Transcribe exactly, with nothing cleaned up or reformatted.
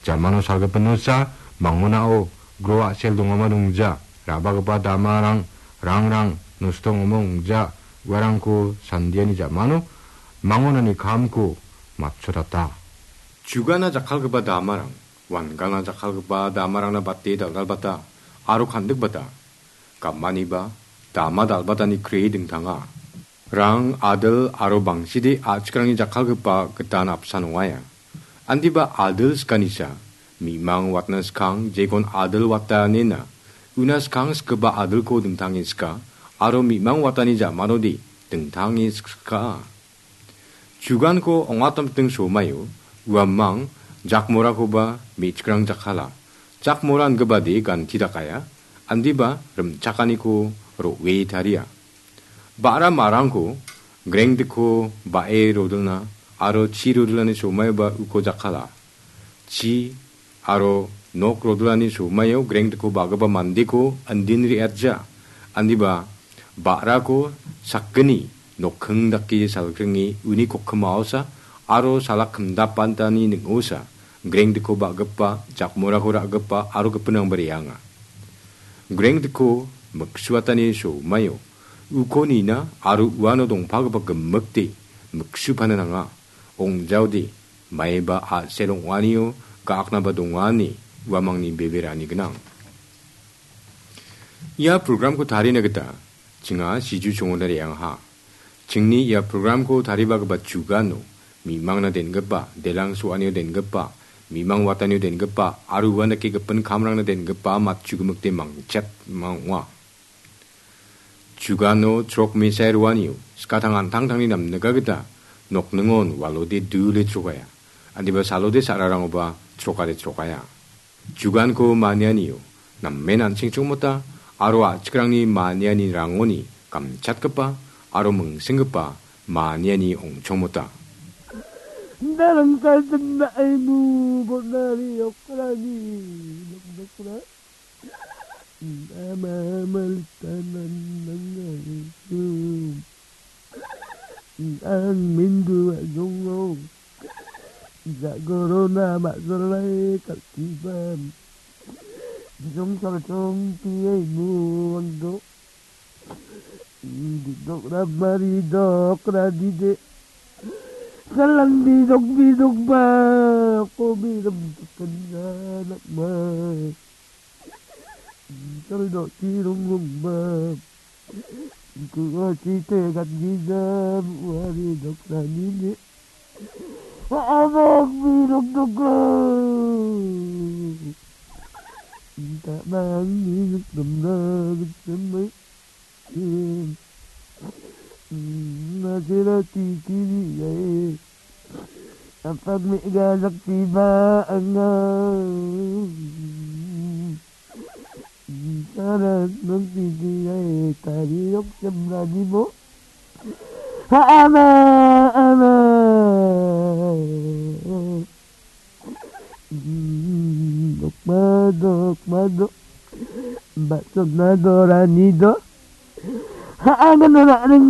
Jamano salgipinosa, mangonao gro a·sel dongama dongja, ra·bagipa damarang, rangrang, nosto ong·amo ong·ja, uarangko sandiani jamano mangonani kamko matchotata. Jugana jakkalgipa damarang, wangana jakkalgipa damarangna bate dal·dalbata aro kandikbata. Gamaniba dama dal·batani kre dingtanga. Rang, adil aro bangside a·chikrangni jakkalgipa gitan apsan ong·aia. Andiba adil sikanisa, mi·mang watna skang jekon adil watanena, una skang sikgipa adilko dingtange sika, aro mi·mang watani jamanode dingtange sika. Juganko ong·atamting somaio uamang jakmorakoba me·chikrang jakkala. Jakmora ingipade ganti dakaia, andiba rimchakaniko ro·e taria. Ba·ra marangko grengdiko ba·e rodilna aro chi rodilani somaioba uko jakkala. Chi aro nok rodilani somaio grengdiko ba·gipa mandeko andin re·atja. Andiba ba·rako sakgni nokking dake salkringe uni kokkimaosa aro salak kimdapantani ning·osa grengdiko ba·gipa, jakmorako ra·gipa aro gipinrangba re·anga. Grengdiko miksuatani somaio uko nina aro uano dongpagipa gimikde miksupana nanga. Ong·jaode maiba a·sel ong·anio ga·aknaba donga ine uamangni beberani gnang. Ia programko tarina gita chinga siju chongona re·angaha. Chingni ia programko taribagipa jugano mi·mangna den·gipa, delang so·anio den·gipa, mi·mang watanio den·gipa aro uandake gipin kamrangna den·gipa matchu gimikde mangchet mang·ong·a. Jugano chrok mesai roanio skatang an·tangtangni namnika gita nokningon walode dule chrokaia. Andiba salode sa·rarangoba chrokade chrokaia. Juganko manianio namen an·ching chongmota aro a·chikrangni maniani rangoni gamchatgipa aro mingsenggipa maniani ong·chongmota. Darangkal tenda aimu bonari okrani nokdokra. Ama maltanan nangai. Ang mindu ajong. Jagorona majolai kaltiban. Jong sarjong tiai muang do. Didok ramari dok radide. Salang bidok bidok ba. Ko bidok kenna nak mai. Sal dok tirung rung ba. Kuaci tegat gizam wari dok ranini. Anak biruk dok. Tak mangi dok demna dok demai. Nasira titi ni gai. Apak me galak tiba anga. Sarat nang titi ai tari yok semrani mo. Ha ama ama. Dok madok madok. Batsok nadorani do. Ha ama nora ring.